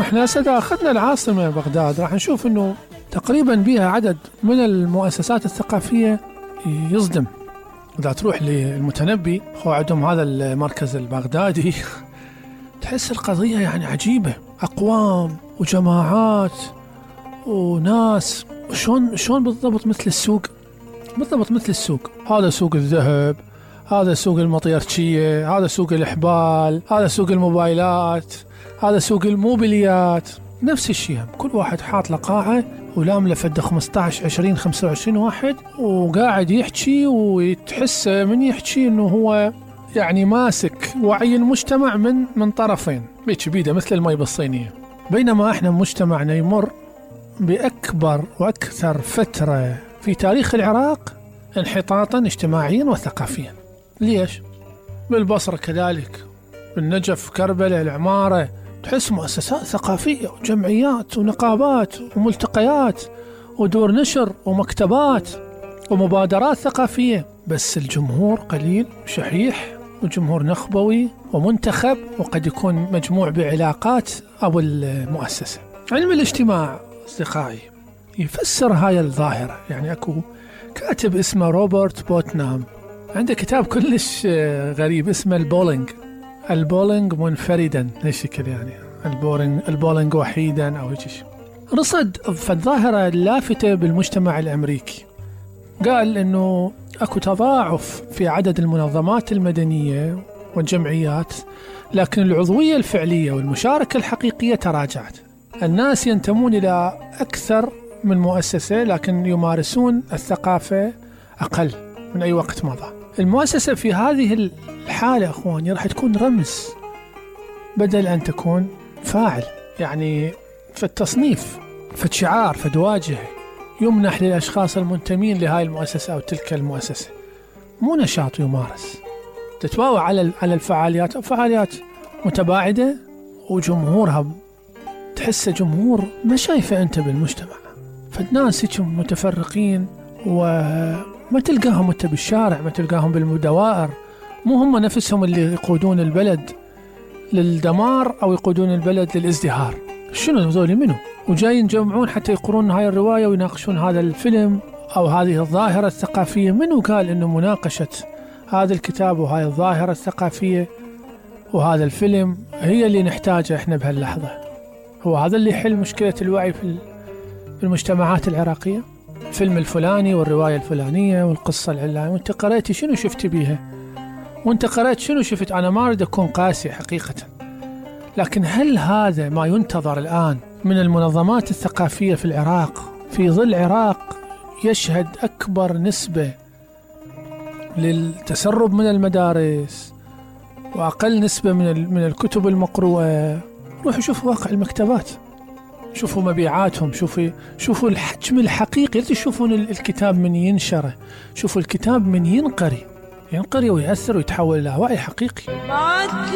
احنا هسه اخذنا العاصمة بغداد، راح نشوف انه تقريبا بها عدد من المؤسسات الثقافية يصدم. إذا تروح للمتنبي هو عندهم هذا المركز البغدادي تحس القضية يعني عجيبة، أقوام وجماعات وناس، شلون بالضبط مثل السوق، بالضبط مثل السوق. هذا سوق الذهب، هذا سوق المطيرشية، هذا سوق الإحبال، هذا سوق الموبايلات، هذا سوق الموبيليات، نفس الشيء. كل واحد حاط له قاعة ولامله فد 15 20 25 واحد وقاعد يحكي، ويتحس من يحكي انه هو يعني ماسك وعي المجتمع من طرفين، بيك بيده مثل المي بالصينية. بينما احنا مجتمعنا يمر بأكبر وأكثر فترة في تاريخ العراق انحطاطا اجتماعيا وثقافيا. ليش؟ بالبصرة كذلك، بالنجف، كربلاء، العمارة، تحس مؤسسات ثقافية وجمعيات ونقابات وملتقيات ودور نشر ومكتبات ومبادرات ثقافية، بس الجمهور قليل شحيح وجمهور نخبوي ومنتخب، وقد يكون مجموع بعلاقات أو المؤسسة. علم الاجتماع أصدقائي يفسر هاي الظاهرة. يعني أكو كاتب اسمه روبرت بوتنام، عنده كتاب كلش غريب اسمه البولينج منفردا، هالشكل يعني البولينج وحيدا أو هيك شيء. رصد فالظاهرة اللافتة بالمجتمع الأمريكي، قال إنه أكو تضاعف في عدد المنظمات المدنية والجمعيات، لكن العضوية الفعلية والمشاركة الحقيقية تراجعت. الناس ينتمون إلى أكثر من مؤسسة، لكن يمارسون الثقافة أقل من أي وقت مضى. المؤسسة في هذه الحالة أخواني راح تكون رمز بدل أن تكون فاعل، يعني فالتصنيف فالشعار فدواجه يمنح للأشخاص المنتمين لهاي المؤسسة أو تلك المؤسسة، مو نشاط يمارس. تتواوى على الفعاليات أو فعاليات متباعدة، وجمهورها تحس جمهور ما شايفه أنت بالمجتمع. فالناس يكون متفرقين وما تلقاهم أنت بالشارع، ما تلقاهم بالدوائر، مو هم نفسهم اللي يقودون البلد للدمار أو يقودون البلد للازدهار. شنو هذول منه؟ وجايين يجمعون حتى يقرون هاي الرواية ويناقشون هذا الفيلم أو هذه الظاهرة الثقافية. منو قال إنه مناقشة هذا الكتاب وهاي الظاهرة الثقافية وهذا الفيلم هي اللي نحتاجها إحنا بهاللحظة؟ هو هذا اللي يحل مشكلة الوعي في المجتمعات العراقية؟ الفيلم الفلاني والرواية الفلانية والقصة العلانية، وانت قرأتي شنو شفت بيها؟ وانت قرأت شنو شفت؟ أنا ما أريد أكون قاسي حقيقة، لكن هل هذا ما ينتظر الآن من المنظمات الثقافية في العراق، في ظل العراق يشهد أكبر نسبة للتسرب من المدارس وأقل نسبة من الكتب المقروءة؟ روحوا شوفوا واقع المكتبات، شوفوا مبيعاتهم، شوفوا الحجم الحقيقي. لا تشوفون الكتاب من ينشره، شوفوا الكتاب من ينقري ويأثر ويتحول إلى وعي حقيقي.